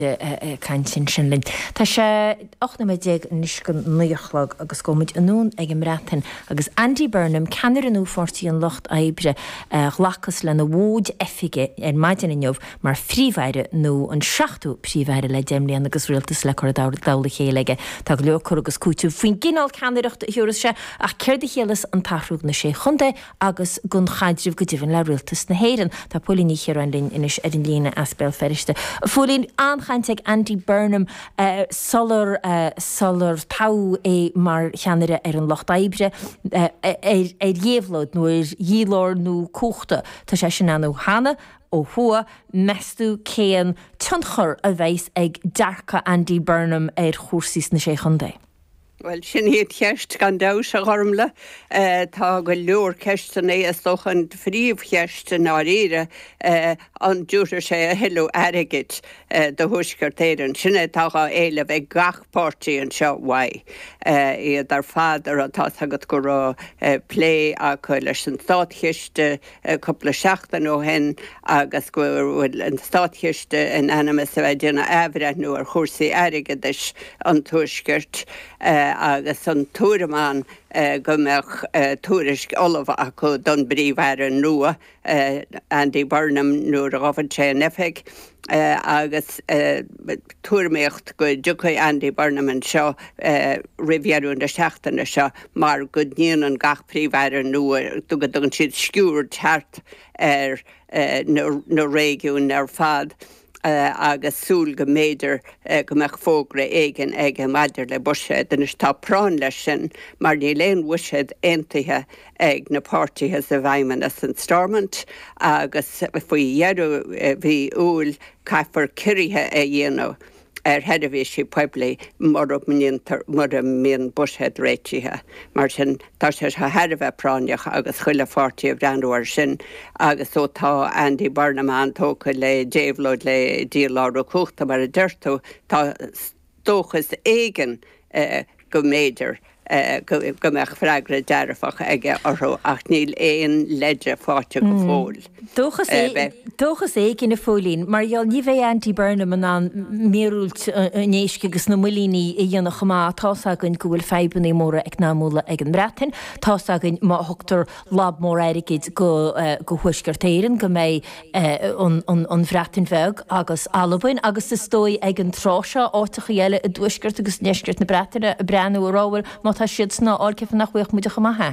Ag caint ansin linn. Tá sé 18 nóiméad anois go 9 a chlog agus gabhfaidh muid anonn ag an mBreatain agus Andy Burnham, ceannaire nua Pháirtí an Lucht Oibre, a ghlacas lena mhóid oifige ar maidin inniu mar Phríomh-Aire nua, an seachtú Príomh-Aire le 10 mbliana agus rialtas le cur i dtoll a chéile aige. Tá go leor cur agus cúiteamh faoin gcineál ceannaireachta a thiúrfas sé ach céard a chiallas an t-athrú do na Sé Chontae agus don chaidreamh go deimhin le Rialtas na hÉireann. Tá Póilín Ní Chiaráin linn anois ar an líne as Béal Feirste. A Phóilín, an-chaint ag Andy Burnham sular sular toghadh é mar cheannaire ar an Lucht Oibre ar ar dhéabhlóid nó ar dhílárnú cumhachta. Tá sé sin ann cheana ó thuaidh. Meas tú cén tionchar a bheas ag dearcadh Andy Burnham ar chúrsaí sna Sé Chontae? Bhuel, sin í an cheist, gan dabht, a Ghormlaith. Tá go leor ceisteanna, is dócha an phríomhcheist i ndáiríre, an dtabharfaidh sé a thuilleadh airgid do Thuaisceart Éireann? Sin é atá á éileamh ag gach páirtí anseo uaidh. Iad ar fad, tá's agat go raibh plé acu leis an Státchiste, cúpla seachtain ó shin agus go bhfuil an Státchiste in ainm is a bheith ag déanamh athbhreithniú ar chúrsaí airgeadais an Tuaiscirt agus an tuairim ann go mbeadh tuairisc ullamh acu don bPríomh-Aire nua, Andy Burnham, nuair a ghabhann sé in oifig. Agus tuairimíocht go dtiocfaidh Andy Burnham anseo roimh dheireadh na seachtaine seo mar go ndéanann gach Príomh-Aire nua, go dtugann siad sciuird thart ar na réigiúin ar fad agus súil go mb'fhéidir go mbeadh fógra éigin aige maidir le buiséad. Anois tá práinn leis sin mar níl aon bhuiséad aontaithe ag na páirtithe sa bhFeidhmeannas in Stormont agus faoi dheireadh mhí Iúil caithfear ciorruithe a dhéanamh ar sheirbhísí poiblí mura ndéantar, mura mbíonn buiséad réitithe. Mar sin, tá sé seo thar a bheith práinneach agus chuile pháirtí ag breathnú air sin agus ó tá Andy Burnham an-tógtha le déabhlóid, le dílárú cumhachta mar a deir tú, tá dóchas éigin go mb'fhéidir go mbeadh freagra dearfach aige orthu ach níl aon leide faighte go fóill. Dóchas éigin, a Phóilín, mar gheall ní bheidh Andy Burnham in ann míorúilt an éisc agus na mbuilíní a dhéanamh chomh maith. Tá's againn go bhfuil fadhbanna móra eacnamúla ag an mBreatain. Tá's againn má thugtar lab mór airgid go Thuaisceart Éireann go mbeidh an Bhreatain Bheag agus Albain agus is dóigh ag an tráth seo áiteachaí eile i dtuaisceart agus i ndeisceart na Breataine ag breathnú ag rá bhuel má tá siadsan á fháil cén fáth nach bhfaigheadh muide chomh maith é.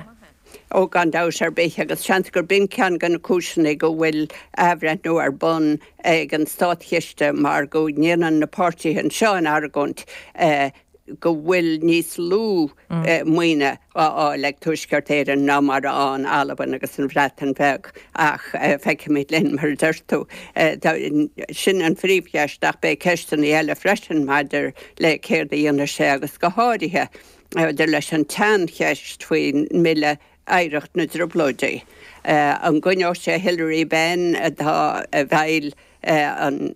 Ó gan dabht ar bith agus seans gurb in ceann de na cúiseanna go bhfuil athbhreithniú ar bun ag an Státchiste mar go ndéanann na páirtithe anseo an argóint go bhfuil níos lú maoine á fháil ag Tuaisceart Éireann ná mar a fhaigheann Albain agus an Bhreatain Bheag ach feicfimid linn, mar a deir tú. Sin an phríomhcheist ach beidh ceisteanna eile freisin maidir le céard a dhéanfaidh sé agus go háirithe maidir leis an tseancheist faoin mBille Oidhreacht na dTrioblóidí. An gcoinneoidh sé Hilary Benn atá i bhfeighil an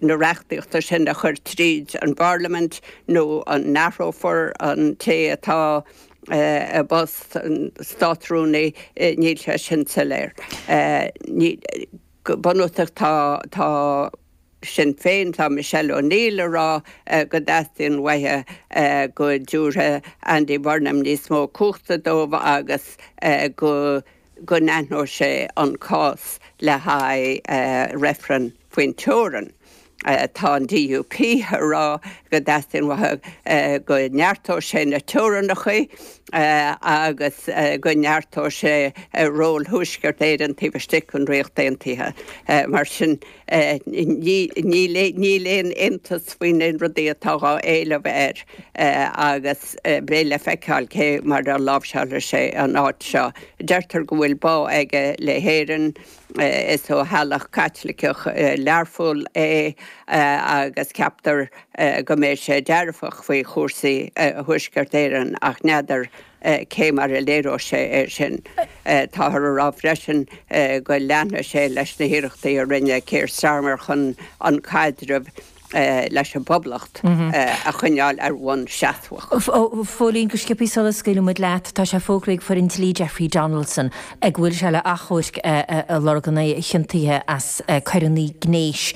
na reachtaíochta sin a chur tríd an bParlaimint nó an n-athrófar an té atá i bpost an Státrúnaí, níl sé sin soiléir. Go bunúsach tá tá Sinn Féin, tá Michelle O'Neill ag rá go dteastaíonn uaithi go dtabharfaidh Andy Burnham níos mó cumhachta dóibh agus go go n-aithneodh sé an cás le haghaidh reifreann faoin teorainn. Tá an DUP ag rá go dteastaíonn uathu go neartódh sé na teorainneacha agus go neartódh sé ról Thuaisceart Éireann taobh istigh den Ríocht Aontaithe. Mar sin, níl aon aontas faoi na rudaí atá á éileamh air agus beidh le feiceáil cé mar a láimhseálfaidh sé an áit seo. Deirtear go bhfuil bá aige le hÉirinn. Is ó theaghlach Caitliceach Learpholl é agus ceaptar go mbeidh sé dearfach faoi chúrsaí Thuaisceart Éireann ach n'fheadar cé mar a léireoidh sé é sin. Táthar a rá freisin go leanfaidh sé leis na hiarrachtaí a rinne Keir Starmer chun an caidreamh. Leis an bPoblacht a choinneáil ar bhonn seasmhach. A Phóilín, go sciobtha sula scaoilfidh muid leat, tá sé fógraithe ag foireann dlí Jeffrey Donaldson go bhfuil sé le achomhairc a lorg in aghaidh a chiontaithe as coireanna gnéis.